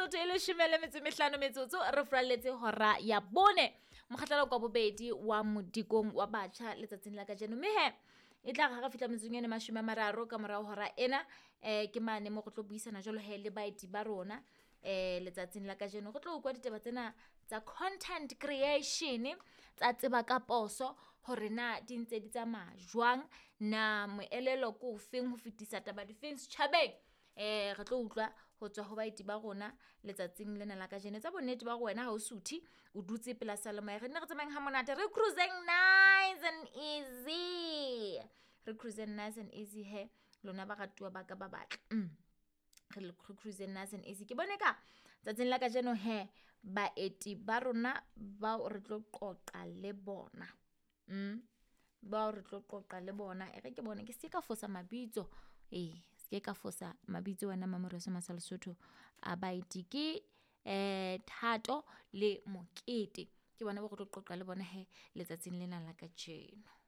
Metsotso e 15 metsotso re furalletse hora ya 4. Mokgahlelo kwa bobedi wa modikong wa batjha letsatsing la kajeno. Mme he e tla re ha re fihla metsotsong ena 30 ka morao hora ena, ke mane mo re tlo buisana jwalo he le baeti ba rona letsatsing la kajeno. Re tlo utlwa ditaba tsena tsa content creation, tsa tseba ka poso hore na di ntse di tsamaya jwang, na moelelo ke ofeng ho fetisa taba difeng setjhabeng. Re tlo utlwa ho tswa ho baeti ba rona letsatsing lena la kajeno. Etsa bonnete ba hore wena ha o suthe, o dutse pela seyalemoya. Re nne re tsamayeng ha monate, re cruise-eng nice and easy. Re cruise-eng nice and easy he lona baratuwa ba ka ba batle. Re cruise-eng nice and easy. Ke bone ka tsatsing la kajeno he baeti ba rona bao re tlo qoqa le bona. Bao re tlo qoqa le bona. E re ke bone ke se ka fosa mabitso. Se ka fosa mabitso wena Mamoreso Masa Lesotho a baeti ke Thato le Mokete. Ke bona bao re tlo qoqa le bona he letsatsing lena la kajeno.